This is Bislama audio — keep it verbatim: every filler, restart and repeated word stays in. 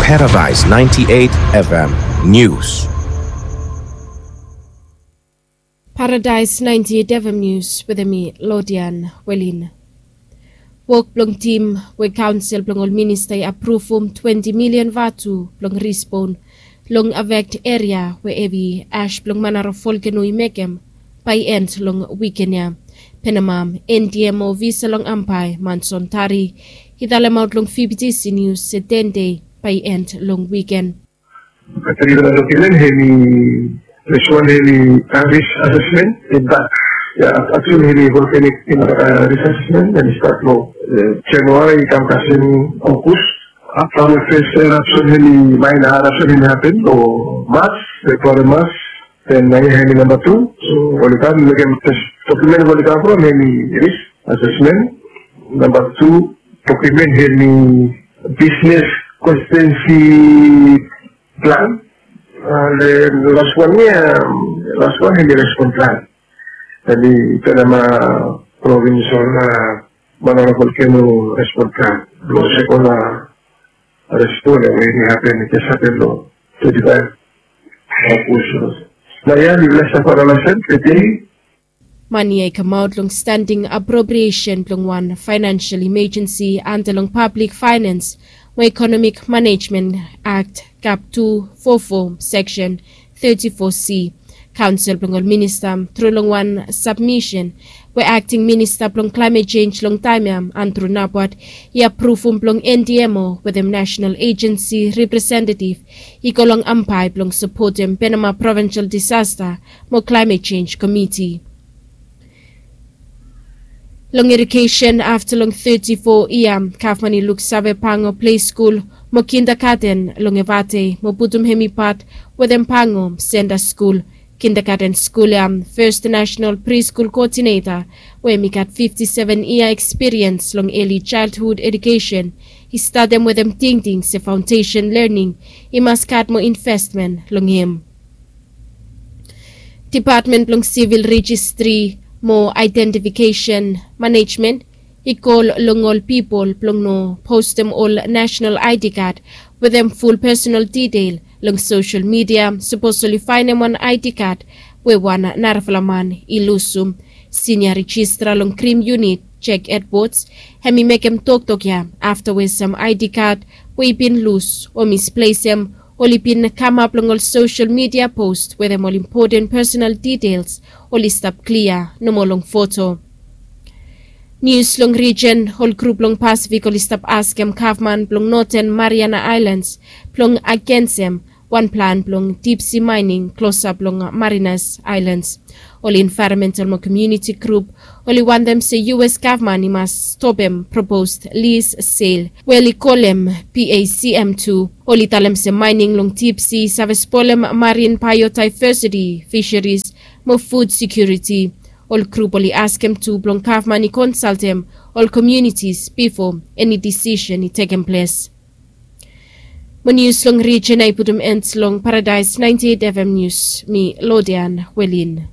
Paradise ninety-eight F M News. Paradise ninety-eight F M News wetem mi, Lodian Welin. Wok blong tim we kaonsel blong ol minista i apruvum twenti milian vatu blong respon long afekt eria we hevi ash blong Manara volkeno i mekem bae i end long wiken ya. Penamam, N D M O ofisa long Ambae, Manson Tari, i talemaot long V B T C News se ten dei bae i end long wiken. Katrina dokimen hemi, this one hemi, uh, risk assessment in that, yeah, actually hemi volcanic in, uh, risk assessment and start lo, uh, January kam kasem August. After the first eruption hemi, minor eruption hemi happen lo March, February, March, then nai hemi number two. So oli kam mekem first dokimen oli kam from hemi risk assessment. Number two dokimen hemi business constituency plan. Uh, the last one ya, um, last one hemi respon plan. Hemi Penama provincial, uh, Manara volkeno respon plan. Lo sekon, uh, respon ya we i hapen, i jes hapen lo twenty-five August. Nau ya mi blesa fo la sen tede. Mane ya i kamaot long standing appropriation blong wan financial emergency anda long Public Finance mo Economic Management Act, kap tu fo fo, section thirty-four C. Kaonsel blong ol minista, tru long wan sabmisen we akting minista blong klaemet jenj long taem ya, Andrew Nabwat, i apruvum blong N D M O wetem national agency representetiv i go long Ambae blong sapotem Penama Provincial Disaster mo Climate Change Committee. Long edukesen, afta long teti fo yia, gavman i luksave pango ple skul mo kindagaten long Efate mo putum hemi pat wetem pango senta skul. Kindagaten skul ya, First National Preschool Coordinator, we hemi gat fifti seven yia ekspiriens long early childhood edukesen, i statem wetem tingting se faondesen lening i mas gat mo investmen long hem. Dipatmen blong Sivil Rejistri mo Aedentifikesen Manejmen i kol long ol pipol blong no postem ol nasenal I D kad wetem ful pesonal detail long sosel midia sapos oli faenem wan I D kad we wan narafala man i lusum. Sinia rejistra long krim yunit, Jack Edwards, hemi mekem toktok ya afta we sam I D kad we i bin lus o misplesem oli bin kamap long ol sosel midia pos wetem ol impoten pesonal details oli stap klia nomo long foto. Nius long rijen, ol grup long Pasifik oli stap askem gavman blong Noten Mariana Aelans blong agensem wan plan blong dipsi maening klosap long Marianas Aelans. Ol envaeronmental mo komuniti grup oli wantem se U S gavman i mas stopem propos lis sel we oli kolem P A C M tu. Oli talem se maening long dipsi save spolem marin baeodaevesiti, fiseris mo fud sekiuriti. Ol grup oli askem tu blong gavman i konsaltem ol komunitis bifo eni disisen i tekem ples. Mo nius long rijen ya i putum en long Paradise ninety-eight F M Nius, mi Lodian Welin.